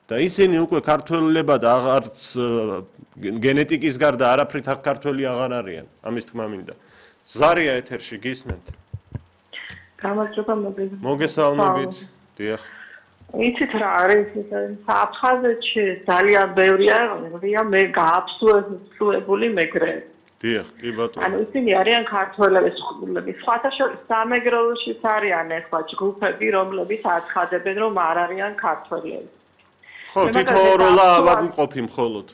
და ისინი უკვე ქართველებად აღარც გენეტიკის გარდა არაფრით ქართველი აღარ არიან. ამის თქმა მინდა. ზარია ეთერში გისმენთ. გამარჯობა მოგესალმებით. დიახ. იცით რა არის აფხაზეთში ძალიან ბევრია მე გააფსუებული მეგრე. დიახ, კი ბატონო. ანუ ისინი არიან ქართველები, სხვათა შორის სამეგრელოშიც არიან ახლა ჯგუფები, რომლებიც აცხადებენ, რომ არ არიან ქართველები. ხო, თითოეულა ავადმყოფი მხოლოდ.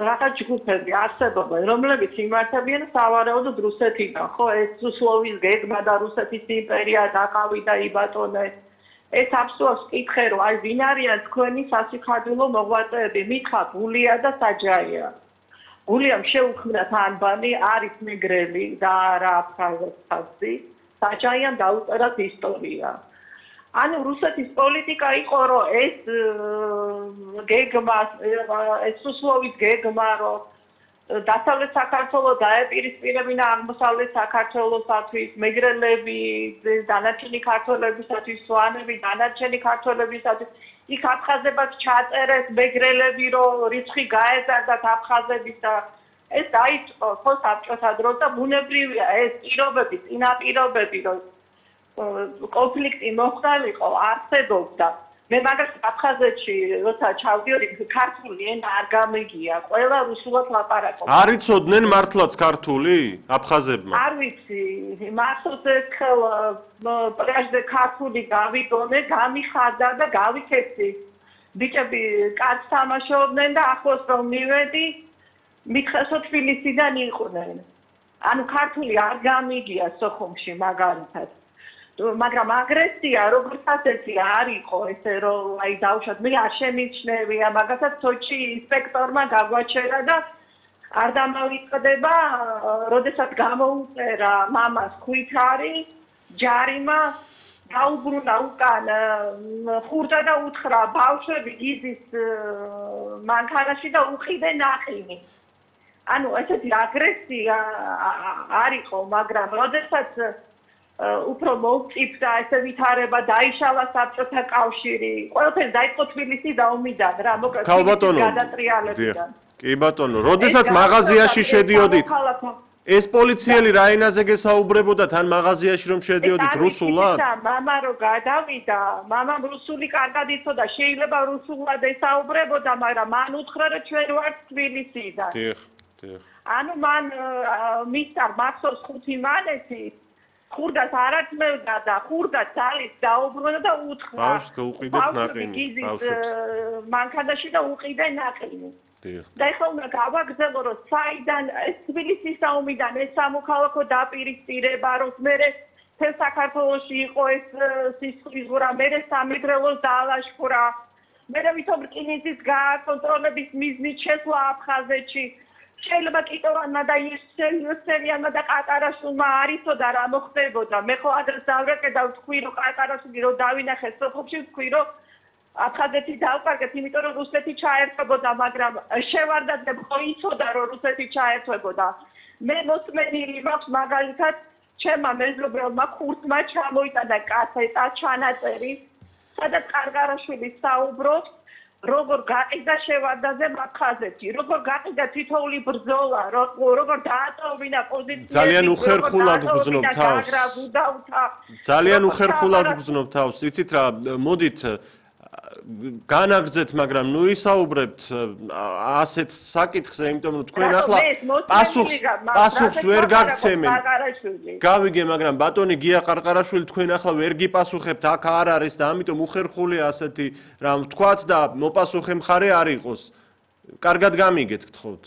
რაღაც ჯგუფები არსებობენ, რომლებიც იმართებიან სავარაუდოდ რუსეთიდან, ხო, ეს სლოვის გეგმა და რუსეთის იმპერია დაყავიდა იბატონეს. ეს აბსოლუტს კითხე, რომ აი ვინ არიან თქვენი სასიხარულო მოღვაწეები, მითხა გულია და საჯაია. გულიამ შეუქმნათ ანბანი, არის მეგრელი და არა აფხაზი, საჯაიამ დაუწერათ ისტორია. ანუ რუსეთის პოლიტიკა იყო, რომ ეს გეგმა, ეს სლოვის გეგმა, რომ დასავლეთ საქართველოს დაეპირისპირებინა აღმოსავლეთ საქართველოსათვის, მეგრელები, დანარჩენი ქართველებისათვის, სვანები, დანარჩენი ქართველებისათვის, იქ აფხაზებად ჩაწერეს მეგრელები, რომ რიცხვი გაეზარდათ აფხაზების და ეს დაიწყო ხო საბჭოთა დროს და ბუნებრივია ეს პირობები, წინაპირობები, რომ კონფლიქტი მოხდარიყო, არსებობდა. მე მაგას აფხაზეთში როცა ჩავდიოდი ქართული ენა არ გამიგია ყველა რუსულად ლაპარაკობს არ იცოდნენ მართლაც ქართული აფხაზებმა არ ვიცი მართლაც ერთხელ პრეჟდე ქართული გავიგონე გამიხარდა და გავითეცი ბიჭები კაც თამაშობდნენ და ახლოს რომ მივედი მითხესო თბილისიდან იყვნენ ანუ ქართული არ გამიგია სოხუმში მაგალითად მაგრამ აგრესია როგორც ასეთი არ იყო ესე რომ აი დავუშვათ მე არ შემიჩნევია მაგასაც სოჩი ინსპექტორმა გაგვაჩერა და არ დამავიწყდება როდესაც გამოუწერა მამას ხვითარი ჯარიმა დაუბრუნა უკან ხურდა და უთხრა ბავშვები გიზის მანქანაში და უყიდე ნაყინი ანუ ესეთი აგრესია არ იყო მაგრამ როდესაც უფრო მოვწიფდა ესე ვითარება დაიშალა საბჭოთა კავშირი ყველაფერი დაიწყო თბილისის დაომიდან რა მოკლედ გადატრიალებიდან კი ბატონო როდესაც მაღაზიაში შედიოდით ეს პოლიციელი რა ენაზე გესაუბრებოდა თან მაღაზიაში რომ შედიოდით რუსულად მამა რო გადავიდა მამამ რუსული კარგად იცოდა შეიძლება რუსულად ესაუბრებოდა მაგრამ მან უთხრა რომ ჩვენ ვართ თბილისიდან დიახ ანუ მან მისცა მახსოვს 5 მანეთი ხურდას არათმევდა და ხურდა ძალით დაუბრუნდა და უთხრა ბავშვს უყიდეთ ნაყინი ბავშვს მანქანაში და უყიდე ნაყინი და ეხლა უნდა გავაგრძელო რომ საიდან ეს თბილისის ომიდან ეს სამოქალაქო დაპირისპირება რომ მერე თელ საქართველოში იყო ეს სისხლისღვრა მერე სამეგრელოს დაალაშქვრა მერე ვითომ რკინიგზის გააკონტროლების მიზნით შესვლა აფხაზეთში შეიძლება კიტოვანმა და იესელიანმა და ყატარაშვილმა არ იცოდა რა მოხდებოდა მე ხო ადრე დავრეკე და ვთქვი რომ ყატარაშვილი რომ დავინახე სოფლში ვთქვი რომ აფხაზეთი დავკარგეთ იმიტომ რომ რუსეთი ჩაერთვებოდა მაგრამ შევარდაძე ხო იცოდა რომ რუსეთი ჩაერთვებოდა მე მოსმენილი მაქვს მაგალითად ჩემმა მეზობელმა ხურთმა ჩამოიტანა კასეტა ჩანაწერი სადაც ყარგარაშვილი საუბრობს როგორ გაყიდა შევარდაძე აფხაზეთში როგორ გაყიდა თითოეული ბრძოლა როგორ დაატოვინა პოზიციები ძალიან უხერხულად გრძნობ თავს ძალიან უხერხულად გრძნობ თავს იცით რა მოდით განაგრძეთ მაგრამ ნუ ისაუბრებთ ასეთ საკითხზე იმიტომ რომ თქვენ ახლა პასუხს ვერ გაგცემენ გავიგე მაგრამ ბატონი გია ყარყარაშვილი თქვენ ახლა ვერ გიპასუხებთ აქ არ არის და ამიტომ უხერხულია ასეთი რამ თქვათ და მოპასუხე მხარე არ იყოს კარგად გამიგეთ გთხოვთ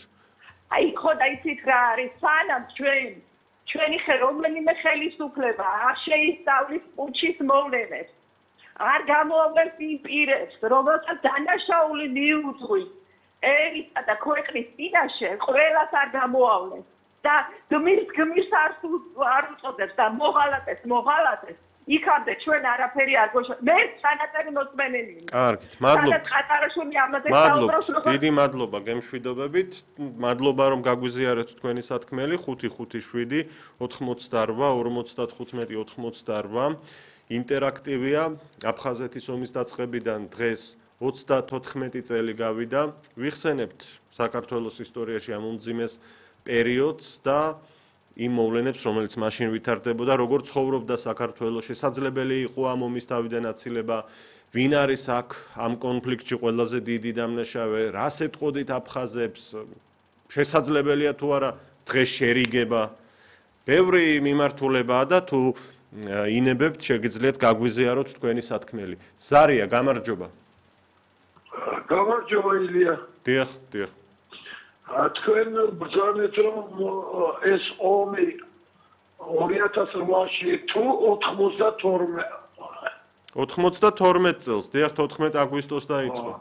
აი ხო და იცით რა არის სანამ ჩვენი რომელიმე ხელისუფლება არ შეისწავლის პუჩის მოვლენებს არ გამოავლენს იმ პირებს, რომელსაც დანაშაული მიუძღვით ერისა და ქვეყნის წინაშე, ყველას არ გამოავლენს და გმირს არ უწოდებს და მოღალატეს, იქამდე ჩვენ არაფერი არ გვეშვა. მე ჩანაწერი მოსმენელია. კარგით, მადლობთ. ყატარაშვილი ამაზე საუბრობს, დიდი მადლობა გემშვიდობებით. მადლობა რომ გაგვიზიარეთ თქვენი სათქმელი 557 88 55 88 ინტერაქტივია აფხაზეთის ომის დაწყებიდან დღეს 34 წელი გავიდა, ვიხსენებთ საქართველოს ისტორიაში ამ უმძიმეს პერიოდს და იმ მოვლენებს, რომელიც მაშინ ვითარდებოდა, როგორ ცხოვრობდა საქართველოს, შესაძლებელი იყო ამ ომის თავიდან აცილება, ვინ არის აქ ამ კონფლიქტში ყველაზე დიდი დამნაშავე, რას ეტყოდით აფხაზებს, შესაძლებელია თუ არა დღეს შერიგება. ბევრი მიმართულებაა და თუ ინებებთ, შეგიძლიათ გაგვიზიაროთ თქვენი სათქმელი. ზარია, გამარჯობა. გამარჯობა ილია. დიახ. თქვენ ბრძანეთ რომ ეს ომი 2008-ში თუ 92 წელს, დიახ 14 აგვისტოს დაიწყო.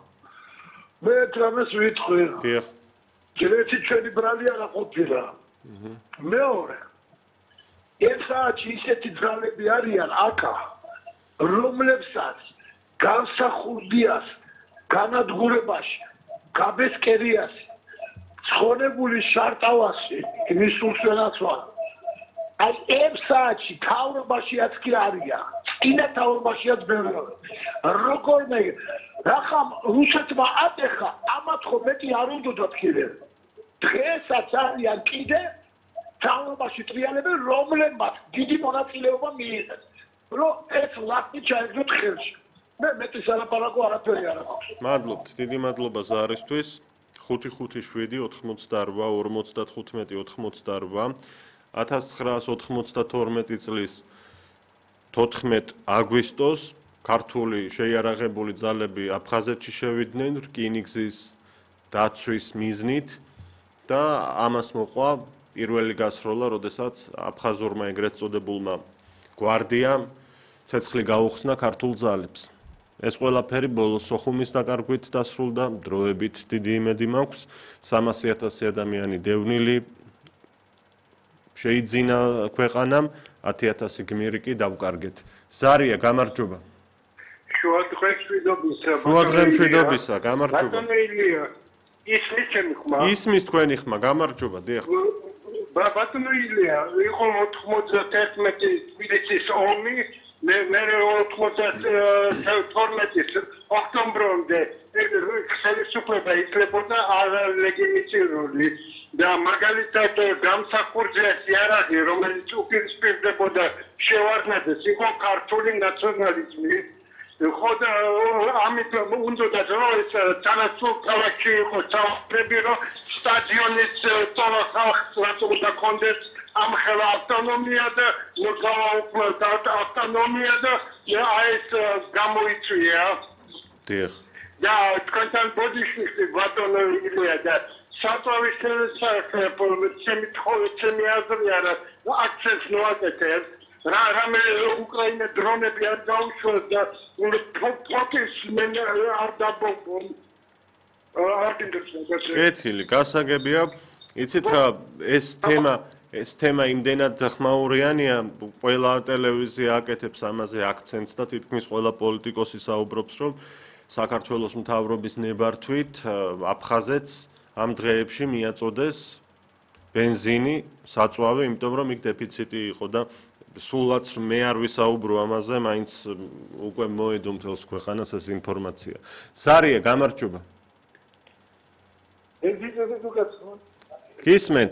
მე თამას ვიტყვი. დიახ. ჯერეთი ჩვენი ბრალი არა ყოფილა. მეორე. ესაა ისეთი ძალები არიან აკა, რომლებსაც განსახურდიას, განადგურებაში, გაბესკერიასი ცხონებული შარტავასი მისულს ვენაცვალა. აი ერთ საათში თავრობაშიაც კი არიან. წინა თავრობაშიაც ბევრია. როგორმე რახამ რუსეთმა ატეხა, ამათ ხო მეტი არ უნდათ კიდე. დღესაც არიან კიდე თავრობაში ტრიალებენ, რომლებმაც დიდი მონაწილეობა მიიღეს. რომ ეს ლაფი ჩაეძოთ ხელში. მე მეტის არაფარაკო არაფერი არ აქვს. მადლობთ, დიდი მადლობა ზარისთვის. 557 88 55 1992 წლის 14 აგვისტოს ქართული შეიარაღებული ძალები აფხაზეთში შევიდნენ რკინიგზის დაცვის მიზნით და ამას მოყვა პირველი გასროლა, როდესაც აფხაზურმა ეგრეთ წოდებულმა გვარდიამ ცეცხლი გაუხსნა ქართულ ძალებს. ეს ყველაფერი ბოლოს სოხუმის დაკარგვით დასრულდა, დროებით დიდი იმედი მაქვს, 300,000 ადამიანი დევნილი შეიძინა ქვეყანამ, 10,000 გმირი კი დავკარგეთ. ზარია, გამარჯობა. შუადღე მშვიდობისა, გამარჯობა. ისმის ჩემი ხმა. ისმის თქვენი ხმა, გამარჯობა, დიახ. ბატონო ილია, იყო 91 თბილისის ომი, მე 92 ოქტომბრამდე ხელისუფლება ითვლებოდა არალეგიტიმური და მაგალითად გამსახურდიას იარაღი, რომელიც უპირისპირდებოდა შევარდნაძეს, იყო ქართული ნაციონალიზმი. ხოდა ამით უნდა რომ ეს თანასწორ ქალაქში იყო საუბრები, რომ სტადიონის თოლა ხალხს რაც უნდა კონდეს ამ ხელა ავტონომია და მოგვაუქმდა ავტონომია და ეს გამოიწვია. დიახ. და თქვენთან ბოდიში ბატონო ილია და საწვავის ჩემი აზრი არა აქცენტს ნოაკეთებს. რამე უკრაინა დრონები არ გაუშვეს და პროტესტმენ არ დაბომბონ. კეთილი, გასაგებია. იცით რა, ეს თემა იმდენად ხმაურიანია, ყველა ტელევიზია აკეთებს ამაზე აქცენტს და თითქმის ყველა პოლიტიკოსი საუბრობს, რომ საქართველოს მთავრობის ნებართვით აფხაზეთს ამ დღეებში მიაწოდეს ბენზინი, საწვავი, იმიტომ რომ იქ დეფიციტი იყო და სულაც მე არ ვისაუბრო ამაზე, მაინც უკვე მოედო მთელს ქვეყანას ეს ინფორმაცია. ზარია, გამარჯობა. გისმენთ,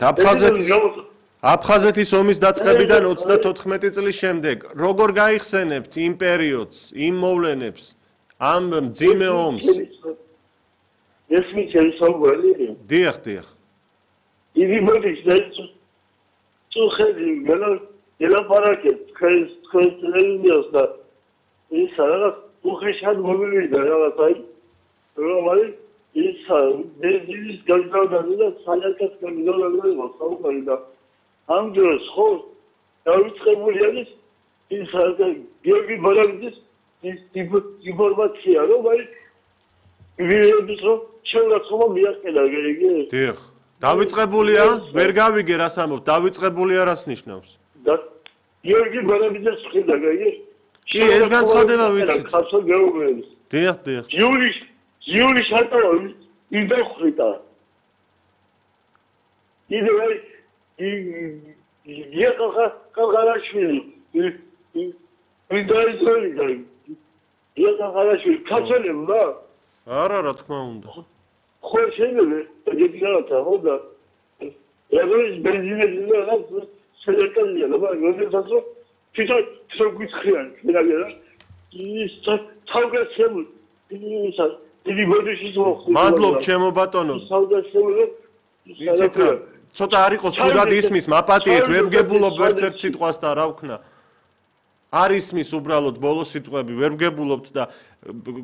აფხაზეთის ომის დაწყებიდან 34 წლის შემდეგ, როგორ გაიხსენებთ იმ პერიოდს, იმ მოვლენებს, ამ მძიმე ომს? ეს მიცემ საუბარი. დიახ. იგი მოდის და წუხედი ელაპარაკეთ თქვენს ტელევიზიას და ის რაღაც უხეშად მომივიდა რაღაც აი რომ არის ის ბენზინის გაჟღავდა და საერთოდ გამიგავდა საუბარი და ამ დროს ხო დავიწყებული არის ის გიორგი ბარაბიძის ის ინფორმაცია რომ აი ვიერთის რომ შეიძლება მიაყენა გეგე. დიახ. დავიწყებულია, ვერ გავიგე რას ამბობ, დავიწყებულია რას ნიშნავს? და გიორგი ბარაბიძეს ხედა გეგე. კი, ეს განცხადება ვიცით. ხასო გეუბნების. დიახ. იულის შარტავი იდეხრიტა. იდე აი გიახახარაშვილი ვიდაიზორი და გიახახარაშვილი ქაცელებმა არა, რა თქმა უნდა. ხო, შეიძლება, ეგეთია, ხო და ეს ბენზინები და სელექტორია, მაგრამ როდესაც თვითონ გიცხიან, შეიძლება ის თავგაცემულ დიდი ბოდიშის მოხდა. მადლობ, ჩემო ბატონო. იცით რა, ცოტა არ იყოს სულად ისმის, მაპატიეთ, ვერ გგებულობ ვერც ერთ სიტყვას და რა ვქნა. არ ისმის უბრალოდ ბოლო სიტყვები, ვერ გგებულობთ და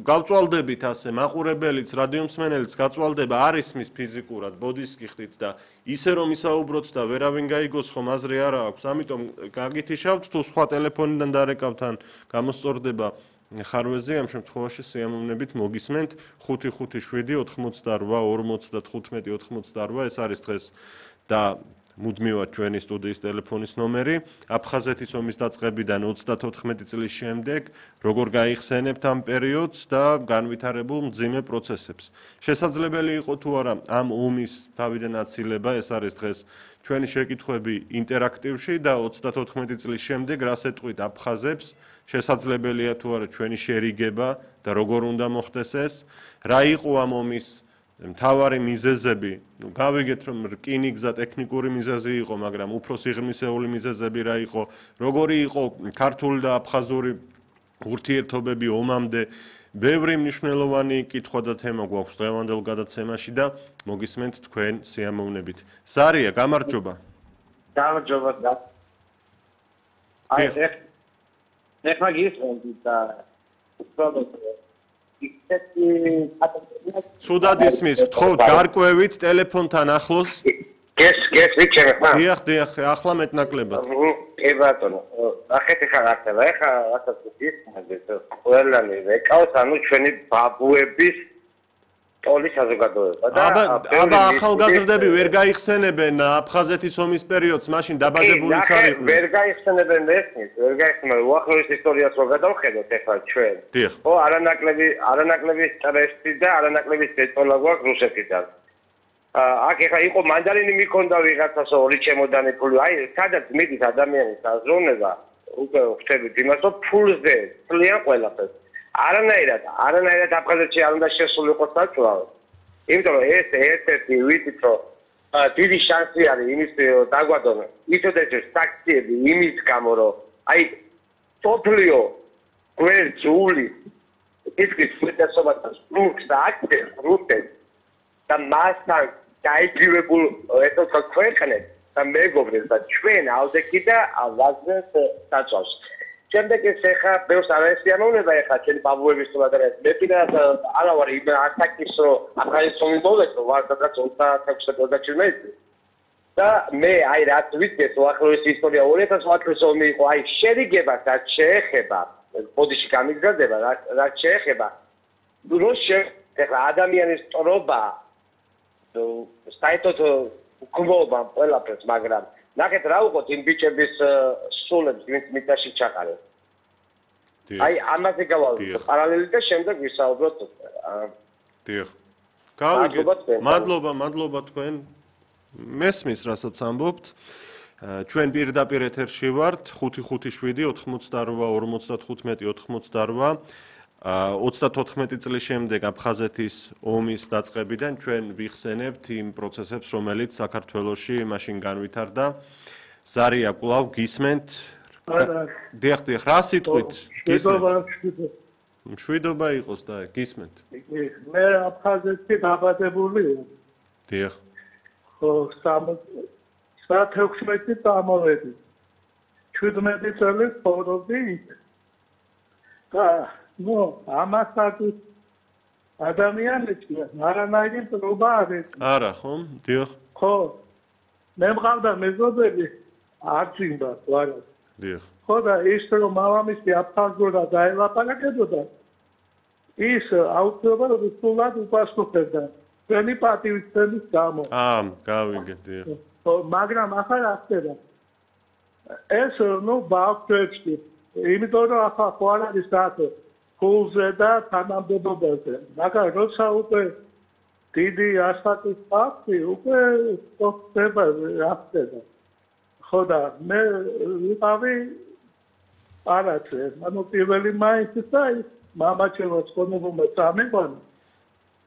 გავწვალდებით ასე, მაყურებელიც, რადიომსმენელიც გაწვალდება, არ ისმის ფიზიკურად, ბოდიშს გიხდით და ისე რომ ისაუბროთ და ვერავინ გაიგოს ხომ აზრი არა აქვს, ამიტომ გაგითიშავთ თუ სხვა ტელეფონიდან დარეკავთ ან გამოსწორდება ხარვეზე, ამ შემთხვევაში სიამოვნებით მოგისმენთ 557-58-45-88 ეს არის დღეს და მუდმივად ჩვენი სტუდიის ტელეფონის ნომერი. აფხაზეთის ომის დაწყებიდან 34 წლის შემდეგ როგორ გაიხსენებთ ამ პერიოდს და განვითარებულ მძიმე პროცესებს. შესაძლებელი იყო თუ არა ამ ომის თავიდან აცილება, ეს არის დღეს ჩვენი შეკითხვები ინტერაქტივში და 34 წლის შემდეგ რას ეტყვით აფხაზებს, შესაძლებელია თუ არა ჩვენი შერიგება და როგორ უნდა მოხდეს ეს, რა იყო ამ ომის მთავარი მიზეზები, გავიგეთ რომ რკინიგზა ტექნიკური მიზეზი იყო, მაგრამ უფრო სიღრმისეული მიზეზები რა იყო, როგორი იყო ქართული და აფხაზური ურთიერთობები ომამდე, ბევრი მნიშვნელოვანი კითხვა და თემა გვაქვს დღევანდელ გადაცემაში და მოგისმენთ თქვენ სიამოვნებით. ზარია, გამარჯობა. გამარჯობა და ეხლა გისმენთ და უბრალოდ სუდად ისმის, გთხოვთ გარკვევით ტელეფონთან ახლოს. გესვიჩერე ხა? დიახ, ახლა მეტნაკლებად. კი ბატონო, ახეთი ხარ ახლა, ეხა რასაც გისმენთ, ყველანი ვეკავს, ანუ ჩვენი ბაბუების ტოლის საზოგადოება და აბა ახალგაზრდები ვერ გაიხსენებენ აფხაზეთის ომის პერიოდს, მაშინ დაბადებულიც არ იყვნენ. ვერ გაიხსენებენ ესმის, ვერ გაიხსენებენ უახლოეს ისტორიას რო გადავხედოთ ეხლა ჩვენ. ხო, არანაკლების სტრესი და არანაკლების დეტოლა გვაქვს რუსეთიდან. აქ ეხლა იყო მანდარინი მიქონდა ვიღაცას ორი ჩემოდანი ფული, აი სადაც მიდის ადამიანის აზროვნება, უკვე ხვდებით იმას, რომ ფულზე წლიან ყველაფერს. არანაირად აფხაზეთში არ უნდა შესულიყო საწვავი. იმიტომ რომ ეს ერთ-ერთი ვიცით რომ დიდი შანსი არის იმის დაგვადონ ისოდეში საქციები იმის გამო რომ აი სოფლიო გვერდზული ისკის ფედერაცията სპრუქს და აქტებს რუსეთს და მასთან დაიჭირებულ ესოთა ქვეყნებს და მეგობრებს და ჩვენ ავდექი და ავაზნეს საწვავს. შემდეგ ეს ეხა ბევრს არ ესიამოვნება ეხა ჩვენი ბაბუების თვალსაზრისით. მე პირადად არა ვარ იმ ასაკის რომ აფხაზეთის ომი მოვეცო, ვარ სადაც 26-27 წელი. და მე აი რაც ვიცი უახლოეს ისტორია 2008 წლის ომი იყო, აი შერიგებას რაც შეეხება, ბოდიში გამიგზავნება, რაც შეეხება ეხლა ადამიანის სწორობა საერთოდ გმობა ყველაფერს, მაგრამ ნახეთ რა უყოთ იმ ბიჭების სულებს, ვინც მიწაში ჩაყარეს. აი ამაზე გავალთ პარალელი და შემდეგ ვისაუბროთ. დიახ. გავიგეთ. მადლობა თქვენ. მესმის რასაც ამბობთ. ჩვენ პირდაპირ ეთერში ვართ 557-88-55-88. 34 წლის შემდეგ აფხაზეთის ომის დაწყებიდან ჩვენ ვიხსენებთ იმ პროცესებს, რომელიც საქართველოში მაშინ განვითარდა. ზარია კვლავ გისმენთ. დიახ, რა სიტყვით? მშვიდობა იყოს და გისმენთ. მე აფხაზეთში დაბადებული. დიახ. ხო, 16 წამოვედი. 17 წელი ცხოვრობდი იქ. და ამასაც ადამიანებში არანაირი პრობა არ არის. არა, ხომ? დიახ. ხო. მე მყავდა მეზობელი არჩინდა, ვარა. დიახ. ხო და ის რომ მამამისი აფხაზურად დაელაპარაკებოდა, ის აუცილებლად სულად უპასუხებდა. ჩვენი პატივისცემის გამო. გავიგეთ, დიახ. ხო, მაგრამ ახლა რა ხდება? ეს ბავშვებში, იმიტომ რომ ახლა ხო არ არის საათო ფულზე და თანამდებობაზე. მაგრამ როცა უკვე დიდი ასაკის ფაქტი უკვე ხდება რა ხდება. ხო და მე ვიყავი არაცე, პირველი მაისის და მამაჩემო ცხოვრობმა წამიყვანა.